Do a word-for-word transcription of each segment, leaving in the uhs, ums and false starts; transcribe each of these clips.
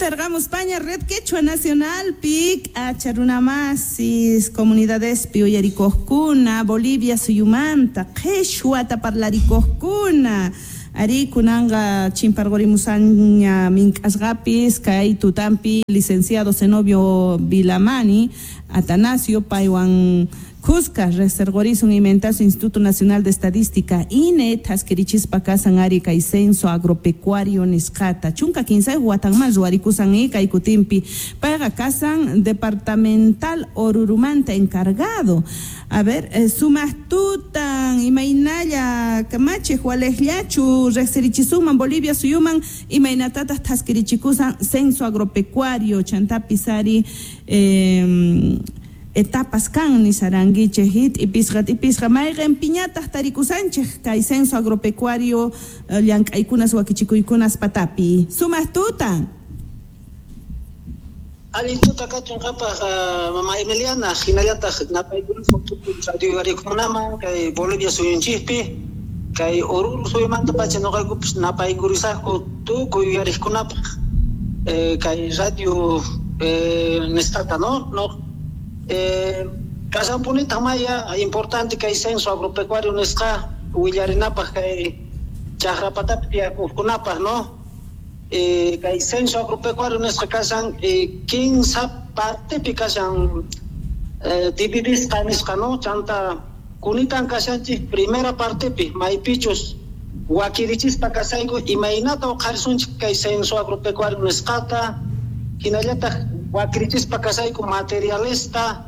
Kincharqamuspaña Red Quechua Nacional pik acharunamasis comunidadespi uyarikuqkuna Bolivia suyumanta qhichwata parlarikuqkuna ari kunanqa chimparqurimusaña mink'asqapis kay tutampi licenciado Zenobio Vilamani Atanasio paywan kuska riqsirqurisun imentasu Instituto Nacional de Estadística I N E thaskirichispa kasan ari kay censo agropecuario nisqata chunka kinsayuq watanman ruwarikusan i kay kutinpi payqa kasan departamental Orurumanta encargado. A ver, eh, sumaq tutan, imaynalla kamachiq, waliqllachu riqsirichisunman Bolivia suyuman imaynatataq thaskirichikusan censo agropecuario chantapis ari eh, etapas kan nisarankichik t'ipisqa t'ipisqa mayqin piñataq tarikusanchik kay censo agropecuario eh, llank'aykunas wakichikuykunas patapi. Sumaq tutan. Allin tuta kachun qhapaq, mama Emiliana, hinallataq napaykunaman tukuy radio uyarikunaman kay Bolivia suyunchikpi kay Oruro suyumanta pacha nuqaykupas napaykurisaqku tukuy uyariqkunapaq eh, kay radio eh, nisqata, no no eh, kasanpunitaq maya importante kay censo agropecuario nisqa willarinapaq kay chaqrapatapi tiyakuqkunapaq, no eh, kay censo agropecuario nisqa kasan eh, kinsa partepi kashan eh, dividisqa nisqa, no chanta kunitan kashanchik primera partepi maypichus wakirichispa kasayku imaynata uqharisunchik kay censo agropecuario nisqata, hinallataq wakirichispa kasayku materialesta,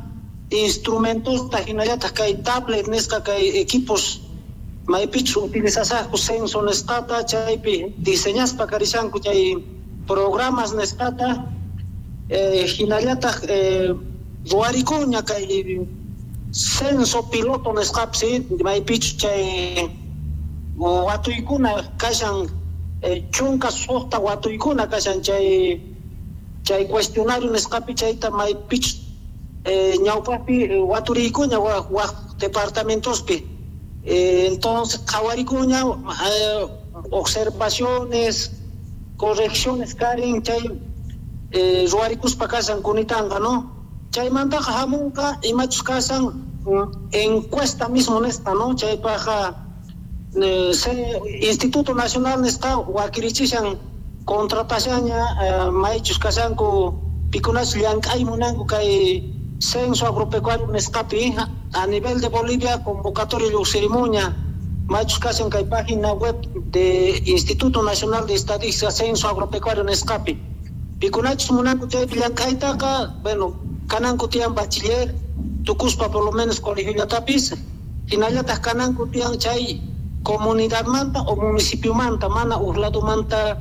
instrumentosta, hinallataq kay tablet nisqa kay equipos maypichus utilizasaqku censo nisqata, chaypi diseñaspa karishanku chay programas nisqata, eh, hinallataq eh, ruwarikuña kay censo piloto nisqapis maypichus chay watuykuna kashan eh, chunka suqta watuykuna kashan chay chay cuestionario nisqapi chayta maypichus eh, ñawpaqpi waturiykuña waq waq departamentospi eh, entonces qhawarikuña eh, observaciones, correcciones karin chay eh, ruwarikuspa kashan kunitanqa, no chaymantaqa hamunqa imachus kasan encuesta mismo nisqa, no chaypaqqa eh, Instituto Nacional nisqa wakirichishan contratashaña eh, maychus kashanku pikunachus llank'ay munanku kay censo agropecuario nisqapi a nivel de Bolivia convocatoria lluqsirimuña maychus kashan kay página web de Instituto Nacional de Estadística censo agropecuario nisqapi pikunachus munanku chaypi llank'aytaqa, bueno, kananku tiyan bachiller tukuspa por lo menos colegio hinallataq kananku tiyan chay comunidadmanta o municipiomanta mana uq ladomanta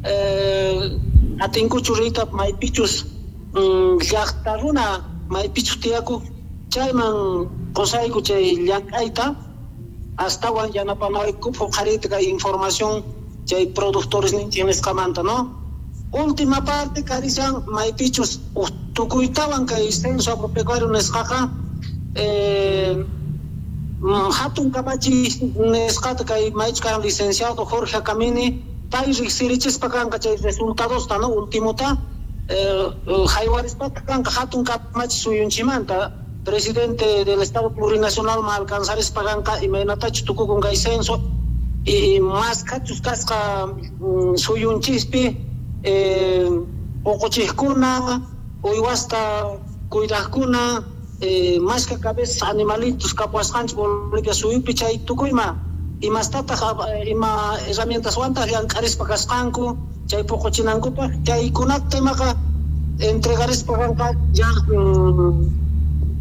eh, atinkuchu riyta maypichus mm, llaqta runa maypichus tiyakuq chayman qusayku chay llank'ayta astawan yanapanaykupaq uqhariyta kay información chay productores ninchik nisqamanta, no última parte karishan maypichus tukuytawan kay censo agropecuario nisqaqa eh, hatun kamachi nisqata kay maychus kan licenciado Jorge Camini pay riqsirichispa kanqa chay resultadosta, no ultimota eh, haywarispa kanqa hatun kamachi suyunchimanta presidente del Estado Plurinacional ma alcanzarispa kanqa imaynatachus tukukun kay censo y maskachus kasqa mm, suyunchispi eh, uquchiqkuna uywasta cuidaqkuna eh, mashka cabezas animalitos kapuasqanchik Bolivia suyupi chay tukuyma imastataq ima herramientaswantaq llank'arispa kasqanku chay puquchinankupaq chaykunata imaqa entregarispa kanqa ya mm,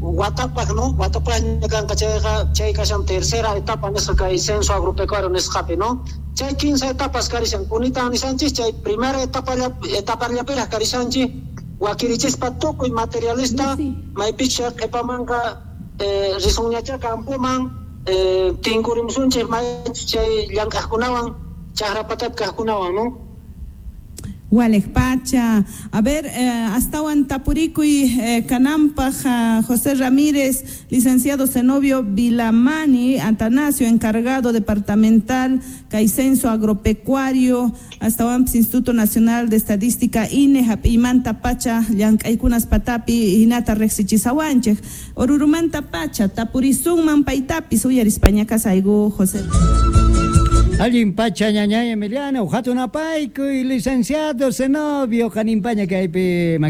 watapaq, no watapaqña kanqa chayqa chay kashan tercera etapa nisqa kay censo agropecuario nisqapi, no chay kinsa etapas karishan kunitan nishanchik chay primera etapa etapallapiraq karishanchik wakirichispa tukuy materialista maypicha qhipamanqa eh, risunñacha campoman eh, tinkurimusunchik may chay llank'aqkunawan chaqrapatapi kaqkunawan, no. Walej pacha. A ver, eh, astawan tapurikuy eh, kanampaj uh, José Ramírez, licenciado Zenobio Vilamani, Atanasio, encargado departamental, kay censo agropecuario, astawan Instituto Nacional de Estadística INE, hap'imanta pacha, llank'aykunas patapi, hinata riqsichisawanchik. Orurumanta pacha, tapurisunman paytapis, uyarispaña kasayku, José. Allin pacha ñañay Emiliano, hatun apaykuy licenciado Zenobio, qanimpaña kaypi.